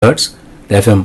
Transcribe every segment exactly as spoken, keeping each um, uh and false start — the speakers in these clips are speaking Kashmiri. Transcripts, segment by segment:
ہرٹز تہٕ ایف ایم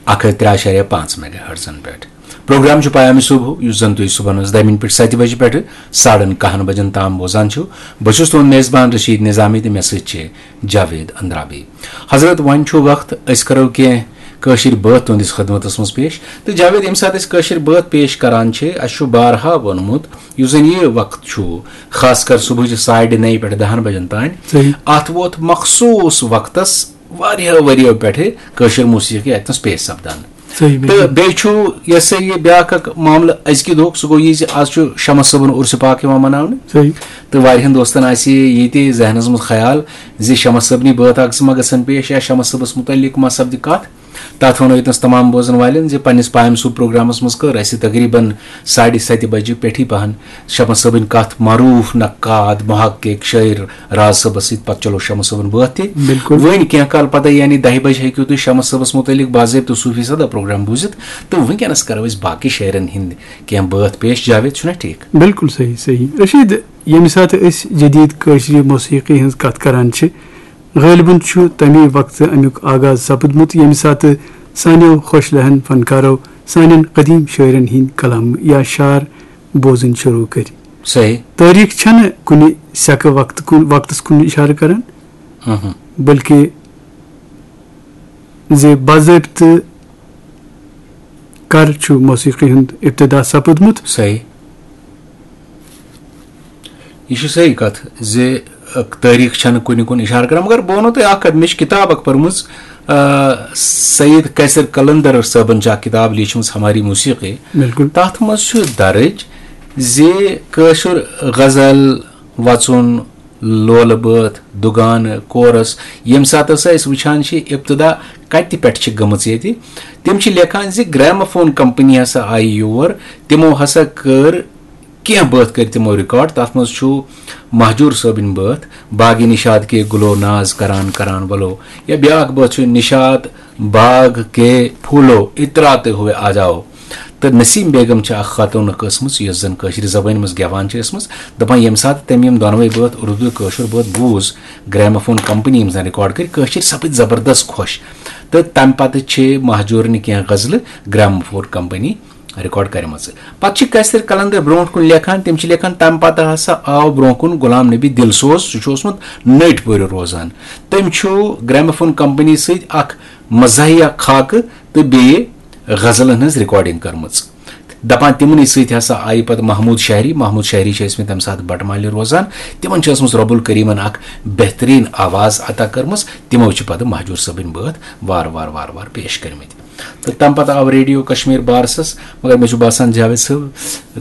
اکھ ہتھ ترٛےٚ اعشاریہ پانٛژھ میگا ہرٹزن پٮ۪ٹھ۔ پروگرام چھُ پیام صبح، یُس زن تُہۍ صبحن ہٕنٛز دَہہِ مِنٹہِ پٮ۪ٹھ ستہِ بجہِ پٮ۪ٹھٕ ساڑن کاہن بجن تام بوزان چھِو۔ بہٕ چھُس تُہُنٛد میزبان رشید نظامی تہٕ مےٚ سۭتۍ چھِ جاوید اندرابی۔ حضرت، وۄنۍ چھُ وقت، أسۍ کرو کینٛہہ کٲشِر بٲتھ تُہنٛدِس خدمتس منٛز پیش۔ تہٕ جاوید، ییٚمہِ ساتہٕ أسۍ کٲشِر بٲتھ پیش کران چھِ، اَسہِ چھُ بارہا ووٚنمُت، یُس زن یہِ وقت چھُ، خاص کر صبحٕچہِ ساڑِ نَیہِ پٮ۪ٹھ دَہن بجن تام، صحیح۔ اتھ ووت مخصوٗص وقتس واریاہو ؤرِیو پٮ۪ٹھٕ کٲشِر موسیقی اتنس پیش سپدان۔ صحیح، تہٕ بِلکُل۔ بیٚیہِ چھُ یہِ ہسا یہِ بیٛاکھ اکھ معاملہٕ أزکہِ دۄہُک، سُہ گوٚو یہِ زِ از چھُ شمس صٲبُن عرسہِ پاک یِوان مناونہٕ۔ صحیح۔ تہٕ واریاہن دوستن آسہِ یہِ تہِ ذہنس منٛز خیال زِ شمس صٲبنی بٲتھ اکھ زٕ ما گژھن پیش یا شمس صٲبس متعلق ما سپدِ کتھ۔ تتھ ونو ییٚتنس تمام بوزن والٮ۪ن زِ پننِس پایم صوب پروگرامس منٛز کٔر اسہِ تقریباً ساڑِ ستہِ بجہِ پٮ۪ٹھٕے پہن شمس صٲبٕنۍ کتھ معروف نقاد، محقق، شٲعر راز صٲبس سۭتۍ۔ پتہٕ چلو شمس صٲبُن بٲتھ تہِ۔ بِلکُل۔ وۄنۍ کینٛہہ کال پتہٕ، یعنی دَہہِ بجہِ، ہیٚکِو تُہۍ شمس صٲبس متعلق باضٲبطہٕ صوفی صدا پروگرام بوٗزِتھ۔ تہٕ وٕنکیٚنس کرو أسۍ باقٕے شٲعرن ہٕنٛدۍ کینٛہہ بٲتھ پیش۔ جاوید، چھُنا ٹھیٖک؟ بِلکُل صحیح، صحیح۔ رشید، ییٚمہِ ساتہٕ أسۍ جدید کٲشرِ موسیقی ہٕنٛز کتھ کران چھِ، غٲلبن چھُ تَمی وقتہٕ اَمیُک آغاز سپُدمُت، ییٚمہِ ساتہٕ سانیو خۄش لہن فنکارو سانٮ۪ن قدیم شٲعرن ہٕنٛدۍ کلام یا شعر بوزٕنۍ شروع کٔرۍ۔ صحیح۔ تٲریخ چھنہٕ کُنہِ سیٚکہٕ وقتہٕ کُن، وقتس کُن اشارٕ کران، اہم۔ بلکہ زِ باضٲبطہٕ کر چھُ موسیقی ہُنٛد ابتدا سپُدمُت۔ صحیح۔ یہِ چھُ صحیح کتھ زِ، ٲ، تٲریخ چھنہٕ کُنہِ کُن اشارٕ کران، مگر بہٕ ونو تۄہہِ اکھ کتھ، مےٚ چھِ کتاب اکھ پٔرمٕژ، ٲ، سعید قیصر قلندر صٲبن چھِ اکھ کتاب لیٖچھمٕژ ہماری موسیقی۔ بِلکُل۔ تتھ منٛز چھُ درج زِ کٲشُر غزل، وژُن، لولہٕ بٲتھ، دُگانہٕ، کورس، ییٚمہِ ساتہٕ ہسا أسۍ وٕچھان چھِ ابتدا کتہِ پٮ۪ٹھ چھِ گٔمٕژ ییٚتہِ، تِم چھِ لیکھان زِ گراموفون کمپنی ہسا آیہِ یور، تِمو ہسا کٔر کینٛہہ بٲتھ کٔرۍ تِمو ریکارڈ۔ تتھ منٛز چھُ مہجور صٲبٕنۍ بٲتھ، باغِ نشاط کے گلو ناز کران کران ولو، یا بیٛاکھ بٲتھ چھُ نشاط باغ کے پھولو اتراتے ہوئے آ جاؤ۔ تہٕ نسیم بیگم چھِ اکھ خاتوٗن ٲسمٕژ، یۄس زن کٲشرِ زبٲنۍ منٛز گٮ۪وان چھِ ٲسمٕژ۔ دپان، ییٚمہِ ساتہٕ تٔمۍ یِم دۄنوَے بٲتھ اردو تہٕ کٲشُر بٲتھ بوٗز، گراموفون کمپنی یِم زن ریکارڈ کٔرۍ، کٲشِرۍ سپٕدۍ زبردست خۄش۔ تہٕ تمہِ پتہٕ چھِ مہجورنہِ کینٛہہ غزلہٕ گراموفون کمپنی ریکارڈ کرِمژٕ۔ پتہٕ چھِ قیصر قلندر برونٛٹھ کُن لیکھان، تِم چھِ لیکھان، تمہِ پتہٕ ہسا آو برونٛہہ کُن غلام نبی دلسوز، سُہ چھُ اوسمُت نٔٹۍ پورِ روزان۔ تٔمۍ چھُ گراموفون کمپنی سۭتۍ اکھ مزاحیہ خاکہٕ تہٕ بیٚیہِ غزلن ہٕنٛز ریکارڈنگ کٔرمٕژ۔ دپان، تِمنٕے سۭتۍ ہسا آیہِ پتہٕ محمود شہری۔ محمود شہری چھِ ٲسمٕتۍ تمہِ ساتہٕ بٹہٕ مالہِ روزان۔ تِمن چھِ ٲسمٕژ رب الکریمن اکھ بہترین آواز عطا کٔرمٕژ۔ تِمو چھِ پتہٕ مہجور صٲبٕنۍ بٲتھ وارٕ وارٕ وارٕ وارٕ پیش کٔرمٕتۍ۔ تہٕ تمہِ پتہٕ آو ریڈیو کشمیر بارسس، مگر مےٚ چھُ باسان جاوید صٲب،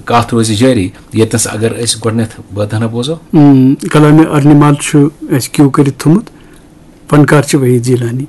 کتھ روزِ جٲری، ییٚتنس اگر أسۍ گۄڈٕنیتھ بٲتھ ہنا بوزو۔ اۭں، کلامِ ارنمال چھُ اَسہِ کیو کٔرِتھ تھوٚمُت، فنکار چھِ وحید جیلانی۔